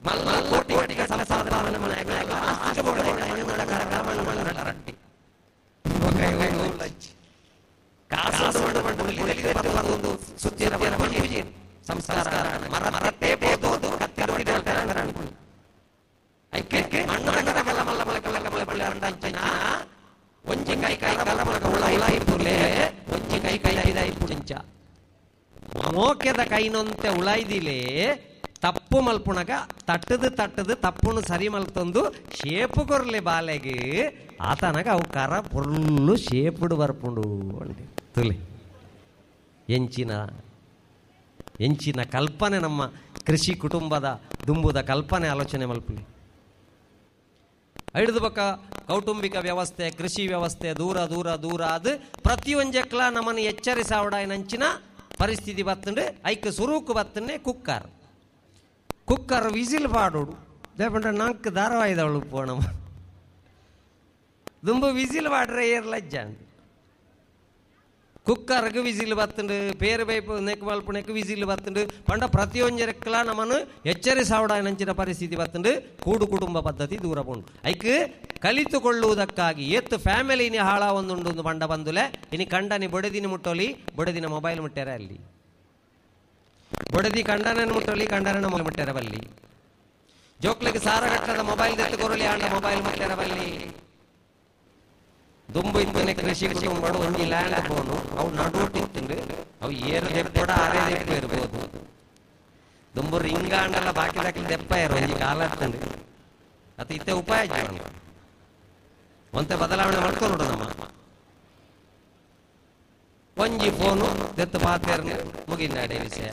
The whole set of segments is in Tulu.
ಮಲ್ಲ ಕೋಟಿ ಕೋಟಿ ಸಂಸ್ಕಾರ ಮೋಕೆದ ಕೈನೊಂತೆ ಉಳಾಯ್ದಿಲೆ ತಪ್ಪು ಮಲ್ಪುಣಗ ತಟ್ಟದು ತಟ್ಟದು ತಪ್ಪುನು ಸರಿ ಮಲ್ತೊಂದು ಶೇಪು ಕೊರ್ಲೆ ಬಾಲೆಗೆ ಆತನಗ ಅವು ಕರ ಪೊರ್ಲು ಶೇಪುಡು ಬರ್ಪುಂಡು ಅಂడి. ತುಲೆ ಎಂಚಿನ ಎಂಚಿನ ಕಲ್ಪನೆ ನಮ್ಮ ಕೃಷಿ ಕುಟುಂಬದ ದುಂಬುದ ಕಲ್ಪನೆ ಆಲೋಚನೆ ಮಲ್ಪುಲಿ. ಐದು ಬಕ್ಕ ಕೌಟುಂಬಿಕ ವ್ಯವಸ್ಥೆ ಕೃಷಿ ವ್ಯವಸ್ಥೆ ದೂರ ದೂರ ದೂರ ಅದು ಪ್ರತಿಯೊಂಜಕ್ಲ ನಮ್ಮನ್ನು ಎಚ್ಚರಿಸಾವಡಾಯನಂಚಿನ ಪರಿಸ್ಥಿತಿ ಬತ್ತಂಡು ಐಕ್ ಸುರುಕು ಬತ್ತನ್ನೇ ಕುಕ್ಕರ್ ಕುಕ್ಕರ್ ವಿಸಿಲ್ ಪಾಡೋಡು ದೇಪಂಡ ನಾಲ್ಕು ಧಾರಾವಾಹಿದವಳು ಪೋಣಮ್ಮ ದುಂಬು ವಿಸಿಲ್ ಪಾಡ್ರೆ ಏರ್ ಲಜ್ಜ ಕುಕ್ಕರ್ಗೆ ವಿಸಿಲ್ ಬತ್ತಂಡು ಪೇರು ಬೈಪು ನೆಕ್ ಮಲ್ಪುನೆಕ್ ವಿಸಿಲ್ ಬತ್ತಂಡು ಪಂಡ ಪ್ರತಿಯೊಂಜರಕ್ಲ ನಮ್ಮನ್ನು ಎಚ್ಚರಿಸಾವಡಾಯನಂಚಿನ ಪರಿಸ್ಥಿತಿ ಬತ್ತಂಡು ಕೂಡು ಕುಟುಂಬ ಪದ್ಧತಿ ದೂರ ಪೋಂಡು. ಐಕ್ ಕಲಿತುಕೊಳ್ಳುವುದಕ್ಕಾಗಿ ಏತ್ತು ಫ್ಯಾಮಿಲಿನಿ ಹಾಳ ಒಂದುಂಡು ಬಂಡ ಬಂದುಲೆ ಇನಿ ಕಂಡನಿ ಬೊಡೆದಿನ ಮುಟ್ಟೋಲಿ ಬೊಡೆದಿನ ಮೊಬೈಲ್ ಮುಟ್ಟಾರ ಅಲ್ಲಿ ಬೊಡೆದಿ ಕಂಡನನ್ನು ಮುಟ್ಟೋಲಿ ಕಂಡನ ಮೊಬೈಲ್ ಮುಟ್ಟಾರ ಬಲ್ಲಿ ಜೋಕ್ಲಿಗೆ ಸಾರಗಟ್ಟದ ಮೊಬೈಲ್ ದೆತ್ತು ಕೊರಲಿ ಆಂಡ ಮೊಬೈಲ್ ಮುಟ್ಟಾರ ಬಲ್ಲಿ. ದುಂಬು ಇತ್ತನೆ ಕೃಷಿ ಕುಟುಂಬ ಒಂಜಿ ಲ್ಯಾಂಡ್ ಫೋನು ಅವು ನಡುಟ್ಟಿತ್ತಂಡು ಅವು ಏರು ದೆಪ್ಪಡ ಅರೆ ದೆಪ್ಪ ಇರ್ಬೋದು. ದುಂಬು ರಿಂಗಾಂಡಲ್ಲ ಬಾಕಿ ದಾಕಲಿ ದೆಪ್ಪ ಇರು ಒಂಜಿ ಕಾಲ ಇತ್ತಂಡು ಅದು ಇತ್ತೆ ಉಪಾಯ ಒಂತೆ ಬದಲಾವಣೆ ಮಾಡ್ಕೊಂಡು ನಮ್ಮ ಒಂಜಿ ಫೋನು ದೆತ್ತು ಪಾತೇರ್ನ ಮುಗಿನಾಡೆ ವಿಷಯ.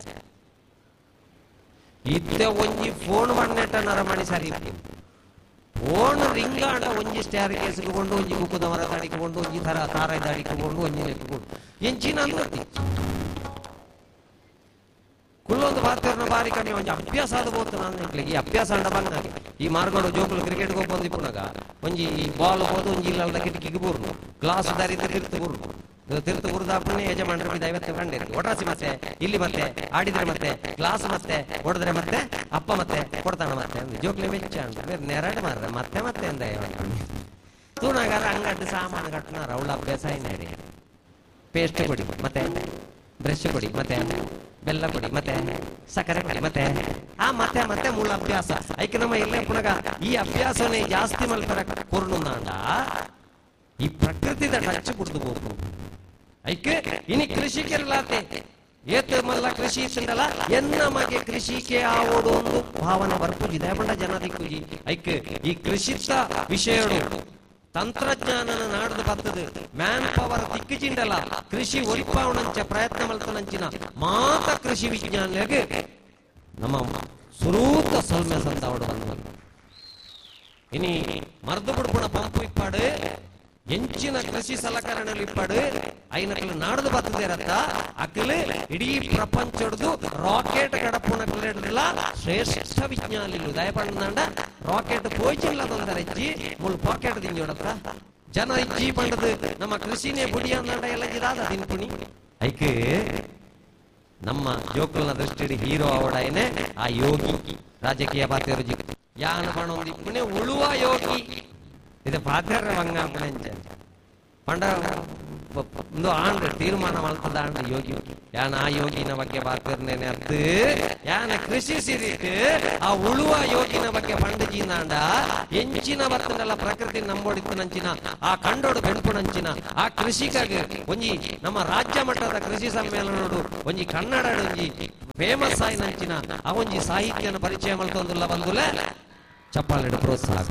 ಇತ್ತೆ ಒಂಜಿ ಫೋನ್ ಮಣ್ಣೆಟ್ಟ ನರಮಣಿ ಸರಿ ಫೋನ್ ರಿಂಗಾಂಡ ಒಂಜಿ ಸ್ಟ್ಯಾರ್ ಕೇಸ್ಕೊಂಡು ಒಂಜಿ ಕುಕ್ಕುದ ಮರ ಅಡಿಕೊಂಡು ಒಂಜಿ ತರ ತಾರಾಯ್ದ ಅಡಿಕೊಂಡು ಒಂಜಿ ನೆಟ್ಟುಕೊಂಡು ಎಂಚಿನ ಅಂದ್ರತಿ ಕುಲ್ಲೊಂದು ಪಾತೇರ್ನ ಬಾರಿ ಕಡೆ ಒಂಜಿ ಅಭ್ಯಾಸ ಆದ ಬೋತು ನಾನು ಈ ಅಭ್ಯಾಸ ಅಂಡ ಬಂದಾಗ ಈ ಮಾರ್ಗೋಡು ಜೋಕುಲು ಕ್ರಿಕೆಟ್ ಹೋಗ್ಬಂದು ಇಪ್ಪುನಾಗ ಒಂಜಿ ಬಾಲ್ ಹೋದು ಒಂಜಿ ಇಲ್ಲದ ಕಿಟಕಿಗೆ ಬೂರ್ನು ಗ್ಲಾಸ್ ದಾರಿದ ತಿರ್ತು ಬೂರ್ನು ತಿರ್ತು ಬುರುದಾಪನೆ ಯಜಮಾನರು ದೈವತ್ತೆ ಕಂಡಿರ್ತು ಒಟ್ರಾಸಿ ಮತ್ತೆ ಇಲ್ಲಿ ಮತ್ತೆ ಆಡಿದ್ರೆ ಮತ್ತೆ ಗ್ಲಾಸ್ ಮತ್ತೆ ಹೊಡೆದ್ರೆ ಮತ್ತೆ ಅಪ್ಪ ಮತ್ತೆ ಕೊಡ್ತಾನ ಮತ್ತೆ ಜೋಕ್ಲೆ ಮೆಚ್ಚ ಅಂತ ಬೇರೆ ನೆರಡು ಮಾರ್ರೆ ಮತ್ತೆ ಮತ್ತೆ ಅಂದ ತೂಣಗಾರ ಅಂಗಡ್ಡು ಸಾಮಾನು ಕಟ್ಟನಾರ ಅವಳ ಅಭ್ಯಾಸ ಏನಾಡಿ ಪೇಸ್ಟ್ ಕೊಡಿ ಮತ್ತೆ ಬ್ರಷ್ ಕೊಡಿ ಮತ್ತೆ ಬೆಲ್ಲ ಕೊಡಿ ಮತ್ತೆ ಸಕ್ಕರೆ ಕೊಡಿ ಮತ್ತೆ ಆ ಮತ್ತೆ ಮತ್ತೆ ಮೂಲ ಅಭ್ಯಾಸ ಐಕೆ ನಮ್ಮ ಇಲ್ಲೇ ಪುನಗ ಈ ಅಭ್ಯಾಸನೇ ಜಾಸ್ತಿ ಮಲ್ಪರ ಕೊರ್ನುಂದಾಂಡ ಈ ಪ್ರಕೃತಿದ ಟಚ್ ಬಿಡ್ದು ಬೋಪು. ಐಕೆ ಇನಿ ಕೃಷಿಕರಲಾತೆ ಏತ ಮಲ್ಲ ಕೃಷಿ ಇತ್ತಂಡಲ್ಲ ಎನ್ನ ಮಗೆ ಕೃಷಿಕೆ ಆವೋಡು ಒಂದು ಭಾವನೆ ಬರ್ಪುಜಿ ದಯಪಂಡ ಜನ ದಿಕ್ಕುಜಿ. ಐಕೆ ಈ ಕೃಷಿತ ವಿಷಯಡು ತಂತ್ರಜ್ಞಾನನ ನಾಡ್ದು ಬರ್ತದೆ ಮ್ಯಾನ್ ಪವರ್ ದಿಕ್ಕುಜಿಂಡಲ್ಲ ಕೃಷಿ ಒಲಿಪಾವಣಂಚ ಪ್ರಯತ್ನ ಮಲ್ತನಂಚಿನ ಮಾತ ಕೃಷಿ ವಿಜ್ಞಾನಿಗೆ ನಮ್ಮ ಸುರೂತ ಸೊಲ್ಮೆ ಸಂದಾವಡು ಬಂದ. ಇನಿ ಮರ್ದು ಬಿಡ್ಪುಣ ಪಂಪು ಇಪ್ಪಾಡು ಎಂಚಿನ ಕೃಷಿ ಸಲಕರಣೆలు ಇಪ್ಪಾಡು ಐನಕಲು ನಾಡ್ದು ಬರ್ತದೆ ಅಕಲು ಇಡೀ ಪ್ರಪಂಚಡ್ದು ರಾಕೆಟ್ ಕಡಪುಣ ಕಲೆಡ್ಲ ಶ್ರೇಷ್ಠ ವಿಜ್ಞಾನಿಲು ದಯಪಂಡ ರಾಕೆಟ್ ಪೋಯ್ಚಿಲ್ಲ ತೊಂದರೆ ಇಜ್ಜಿ ಮುಳು ಪಾಕೆಟ್ ದಿಂಜೋಡತ್ತ ಜನ ಇಜ್ಜಿ ಪಂಡದು ನಮ್ಮ ಕೃಷಿನೇ ಬುಡಿ ಅಂದಂಡ ಎಲ್ಲ ಜಿದಾದ ತಿನ್ಪುಣಿ. ಐಕೆ ನಮ್ಮ ಜೋಕುಲ್ನ ದೃಷ್ಟಿ ಹೀರೋ ಅವಡಾಯನೆ ಆ ಯೋಗಿ ರಾಜಕೀಯ ಪಾತ್ರ ಯಾನ ಪಣೊಂದಿಪ್ಪುಣೆ ಉಳುವ ಯೋಗಿ ಇದು ಪಾತ್ರ ಬಂಗಾಪಣೆಂಚ ಪಂಡ ಒಂದು ಆಂಡ್ ತೀರ್ಮಾನ ಮಾಡ್ತದ ಆಂಡ್ ಯೋಗಿ ಯಾನ ಆ ಯೋಗಿನ ಬಗ್ಗೆ ಪಾತ್ರನೇನೆ ಅರ್ಥ ಯಾನ ಕೃಷಿ ಸಿರಿಟ್ ಆ ಉಳುವ ಯೋಗಿನ ಬಗ್ಗೆ ಪಂಡಜಿನಾಂಡ ಎಂಚಿನ ಬರ್ತನಲ್ಲ ಪ್ರಕೃತಿ ನಂಬೋಡಿತ್ತು ನಂಚಿನ ಆ ಕಂಡೋಡು ಬೆಂಪುನಂಚಿನ ಆ ಕೃಷಿಕಾಗಿ ಒಂಜಿ ನಮ್ಮ ರಾಜ್ಯ ಮಟ್ಟದ ಕೃಷಿ ಸಮ್ಮೇಳನೋಡು ಒಂಜಿ ಕನ್ನಡ ಒಂಜಿ ಫೇಮಸ್ ಆಯಿ ನಂಚಿನ ಆ ಒಂಜಿ ಸಾಹಿತ್ಯನ ಪರಿಚಯ ಮಾಡ್ತೊಂದುಲ್ಲ ಬಂದುಲೆ ಚಪ್ಪಾಳೆಡು ಪ್ರೋತ್ಸಾಹ.